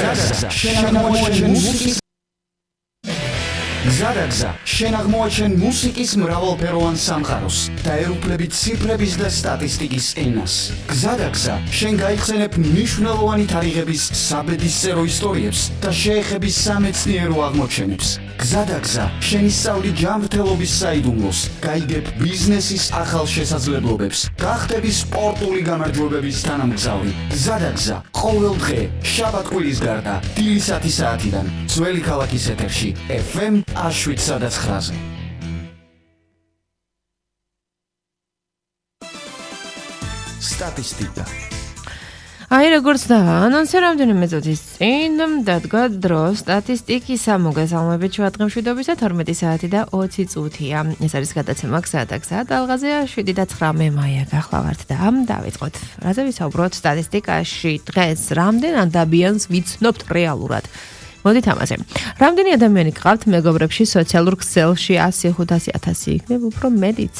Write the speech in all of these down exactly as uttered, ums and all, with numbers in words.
გზადაგზა შენ აღმოაჩენ მუსიკის გზადაგზა შენ აღმოაჩენ მუსიკის მრავალფეროვან სამყაროს და ერუპლებით ციფრების და სტატისტიკის ენას. გზადაგზა შენ გაიხსენებ მნიშვნელოვანი თარიღების საბედისწერო ისტორიებს და შეეხების სამეცნიერო აღმოჩენებს. გზადაგზა შენ ისწავლი ჯანმრთელობის საიდუმლოს, გაიგებ ბიზნესის ახალ შესაძლებლობებს, გახდები სპორტული გამარჯვებების თანამგზავრი. გზადაგზა ყოველ დღე შაბათ-კვირის გარდა დილის ათი საათიდან ძველი ქალაქის ეთერში ეფ ემ შვიდ ცხრაზე. სტატისტიკა. აი როგორც და ანონსი რამდენიმე წუთის წინ დადგა დრო სტატისტიკისა მოგესალმებით ჩვენ დღემშვიდობისა თორმეტი საათი და ოცი წუთია. ეს არის გადაცემა გზადაგზა ალღაზია შვიდი და ცხრა მე მაია გახლავართ და დავიწყოთ. რაზე ვისაუბროთ სტატისტიკაში დღეს რამდენ ადამიანს ვიცნობთ რეალურად? მოდით ამაზე. რამდენი ადამიანი გყავთ მეგობრებში სოციალურ ქსელში ასი ხუთასი ათასი იქნება უფრო მეტიც.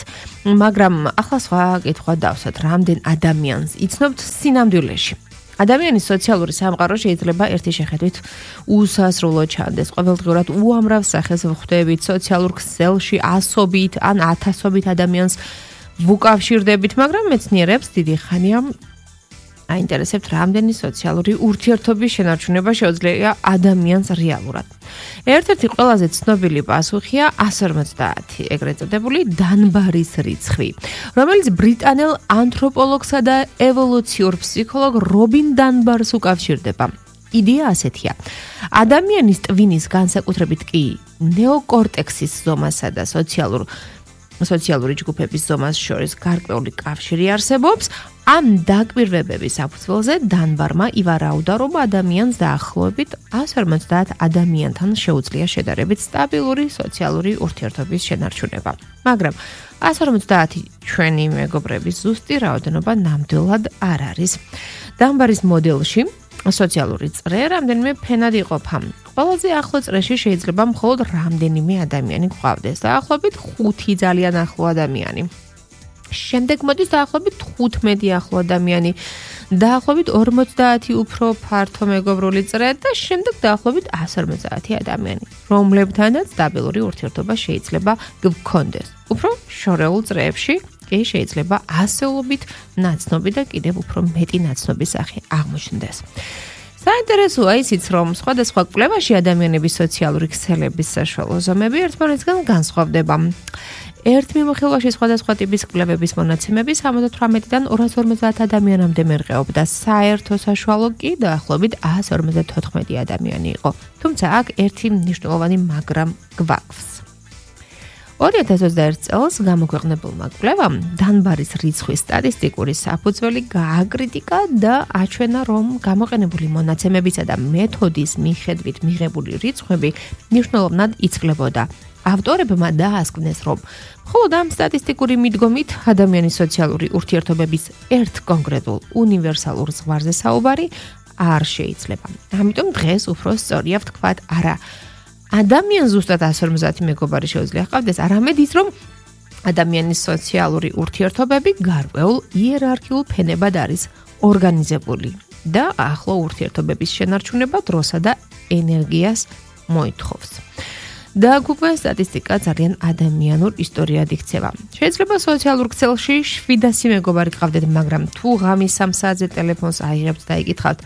მაგრამ ახლა სხვა კითხვა დავსვათ, რამდენ ადამიანს იცნობთ სინამდვილეში? ადამიანის სოციალური სამყარო შეიძლება ერთი შეხედვით უსასრულო ჩანდეს. ყოველდღიურად უამრავ სახეს ვხვდებით სოციალურ ქსელში ასობით ან ათასობით ადამიანს ვუკავშირდებით, მაგრამ მეცნიერებს დიდი ხანია აინტერესებთ რამდენი სოციალური ურთიერთობის შენარჩუნება შეუძლია ადამიანს რეალურად. ერთ-ერთი ყველაზე ცნობილი პასუხია ასი ორმოცდაათი, ეგრეთ წოდებული დანბარის რიცხვი, რომელიც ბრიტანელ ანთროპოლოგსა და ევოლუციურ ფსიქოლოგ რობინ დანბარს უკავშირდება. იდეა ასეთია. ადამიანის ტვინის განსაკუთრებით კი ნეოკორტექსის ზომასა და სოციალურ სოციალური ჯგუფების ზომას შორის გარკვეული კავშირი არსებობს. ამ დაკვირვებების საფუძველზე დანბარმა ივარაუდა, რომ ადამიანს დაახლოებით ასი ორმოცდაათ ადამიანთან შეუძლია შედარებით სტაბილური სოციალური ურთიერთობის შენარჩუნება. მაგრამ ასი ორმოცდაათი ჩვენი მეგობრების ზუსტი რაოდენობა ნამდვილად არ არის. დანბარის მოდელში სოციალური წრე რამდენიმე ფენად იყოფა. ყველაზე ახლო წრეში შეიძლება მხოლოდ რამდენიმე ადამიანი გვყავდეს, დაახლოებით ხუთი ძალიან ახლო ადამიანი. შემდეგ მოდის დაახლოებით თხუთმეტი ახლო ადამიანი, დაახლოებით ორმოცდაათი უფრო ფართო მეგობრული წრე და შემდეგ დაახლოებით ასი ორმოცდაათი ადამიანი, რომლებთანაც სტაბილური ურთიერთობა შეიძლება გქონდეს. უფრო შორეულ წრეებში კი შეიძლება ასეულობით ნაცნობი და კიდევ უფრო მეტი ნაცნობი სახე აღმოჩნდეს. საინტერესოა ისიც, რომ სხვადასხვა კვლევაში ადამიანების სოციალური ქსელების საშუალო ზომები ერთმანეთისგან განსხვავდება. ერთ მიმოხილვაში სხვადასხვა ტიპის კვლევების მონაცემები სამოცდათვრამეტიდან ორას ორმოცდაათ ადამიანამდე მერყეობდა, საერთო საშუალო კი დაახლოებით ასი ორმოცდათოთხმეტი ადამიანი იყო. თუმცა აქ ერთი მნიშვნელოვანი მაგრამ გვაქვს. ორი ათას ოცდაერთი წელს გამოქვეყნებულმა კვლევამ დანბარის რიცხვის სტატისტიკური საფუძველი გააკრიტიკა და აჩვენა, რომ გამოყენებული მონაცემებისა და მეთოდის მიხედვით მიღებული რიცხვები მნიშვნელოვნად იცვლებოდა. ავტორებმა დაასკვნეს, რომ მხოლოდ ამ სტატისტიკური მიდგომით ადამიანის სოციალური ურთიერთობების ერთ კონკრეტულ უნივერსალურ ზღვარზე საუბარი არ შეიძლება. ამიტომ დღეს უფრო სწორია ვთქვათ, არა, ადამიანს ზუსტად ასი ორმოცდაათი მეგობარი შეუძლია ჰყავდეს, არამედ ის, რომ ადამიანის სოციალური ურთიერთობები გარკვეულ იერარქიულ ფენებად არის ორგანიზებული და ახლო ურთიერთობების შენარჩუნება დროსა და ენერგიას მოითხოვს. და უკვე სტატისტიკა ძალიან ადამიანურ ისტორიად იქცევა. შეიძლება სოციალურ ქსელში შვიდასი მეგობარი გყავდეთ, მაგრამ თუ ღამის სამ საათზე ტელეფონს აიღებთ და იკითხავთ,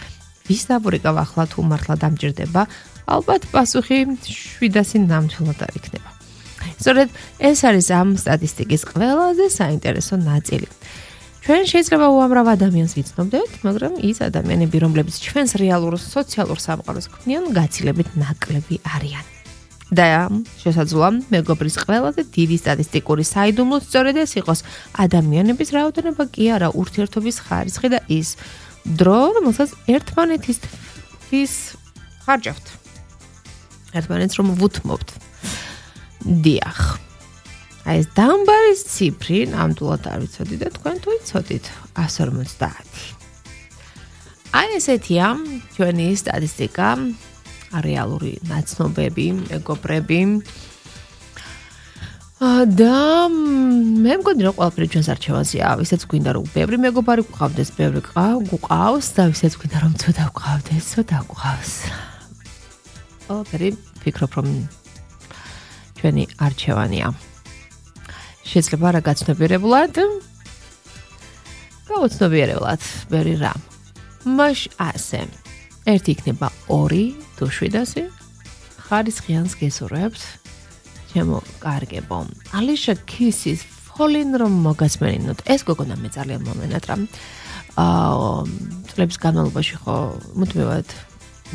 ვის დაბურიკავ ახლა თუ მართლა დამჭირდება, ალბათ პასუხი შვიდასი ნამდვილად არ იქნება. სწორედ ეს არის ამ სტატისტიკის ყველაზე საინტერესო ნაწილი. ჩვენ შეიძლება უამრავ ადამიანს ვიცნობდეთ, მაგრამ ის ადამიანები, რომლებიც ჩვენს რეალურ სოციალურ სამყაროს ქმნიან, გაცილებით ნაკლები არიან. და შესაძლოა მეგობრის ყველაზე დიდი სტატისტიკური საიდუმლო სწორედ ეს იყოს ადამიანების რაოდენობა კი არა, ურთიერთობის ხარისხი და ის დრო, რომელსაც ერთმანეთისთვის ხარჯავთ. ერთმანეთს რომ ვუთმობთ. დიახ. აი ეს დანბარის ციფრი ნამდვილად არ ვიცოდი და თქვენ თუ იცოდით ასი ორმოცდაათი. აი ესეთია ჩვენი სტატისტიკა. რეალური ნაცნობები, მეგობრები. და მე მგონი რომ ყველაფერი ჩვენს არჩევანზეა, ვისაც გვინდა რომ ბევრი მეგობარი გყავდეს, ბევრი გყავს და ვისაც გვინდა რომ ცოტა გყავდეს, ცოტა გყავს. ყველაფერი ვფიქრობ რომ ჩვენი არჩევანია. შეიძლება რა გაცნობიერებლად, გაუცნობიერებლად, ბევრი რა. მაშ ასე. ერთი იქნება ორი თუ შვიდასი. ხარისხიანს გესურვებთ. ჩემო კარგებო. ალიშა ქისის ფოლინ რომ მოგასმენინოთ. ეს გოგონა მე ძალიან მომენატრა. აა წლების განმავლობაში ხო მუდმივად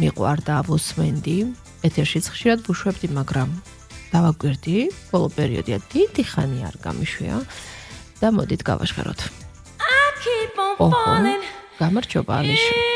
მიყვარდა ვუსმენდი. ეთერშიც ხშირად ვუშვებდი, მაგრამ დავაკვირდი, ბოლო პერიოდია დიდი ხანი არ გამიშვია და მოდით გავაშხეროთ. ოჰო, გამარჯობა ალიშა.